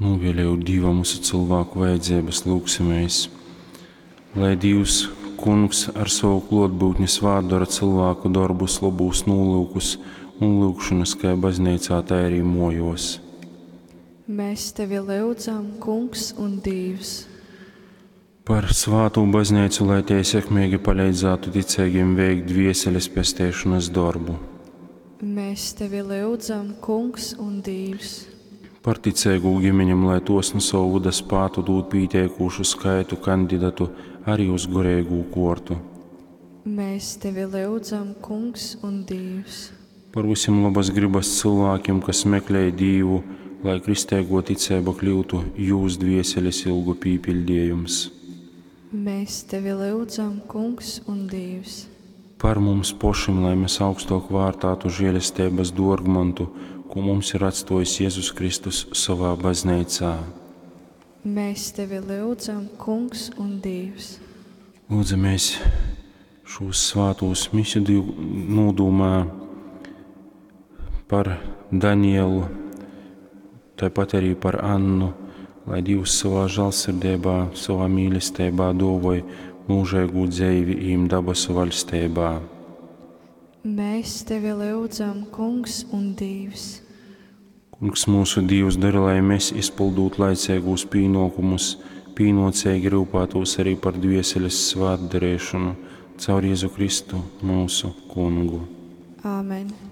Nūvēlējot Dīvam vysu cylvāku vajadzeibas, lyugsimēs, lai Dīvs, Kungs, ar sovu klōtbyutni svātdora cylvāku dorbus, lobūs nūlyukus un lyugšonas kai bazneicā, tai arī mōjōs. Mēs tevi lyudzam, Kungs un Dīvs. Par svātū bazneicu, lai tei sekmeigi paleidzātu ticeigim veikt dvieseles pesteišonas dorbu. Mēs tevi lyudzam, Kungs un Dīvs. Par ticeigū gimenem, lai tos nu sova vyda spātu dūt pīteikūšu skaitu kandidatu arī uz goreigū kuortu. Mēs tevi lyudzam, Kungs un Dīvs. Par vysim lobas grybas cylvākim, kas meklej Dīvu, lai kristeiguo ticeiba kļyutu jūs dvieseles ilgu pīpiļdejums. Mēs tevi lyudzam, Kungs un Dīvs. Par mums pošim, lai mes augstuok vārtātu želesteibas duorgmontu, kū mums ir atstuojis Jezus Kristus sovā bazneicā. Mēs tevi lyudzam, Kungs un Dīvs. Lūdzamies šūs svātūs misu nūdūmā par Danielu, tāpat arī par Annu, lai Dievs savā žālsirdībā, savā mīlestībā dōvoj mūžīgu dzeivi īm dabasu vaļstībā. Mēs tevi lyudzam, Kungs un Dīvs. Kungs mūsu Dīvs, dari, lai mēs, izpildūt laiceigūs pīnōkumus, pīnōceigi ryupātūs arī par dvieseles svātdarēšanu caur Jezu Kristu, mūsu Kungu. Āmen.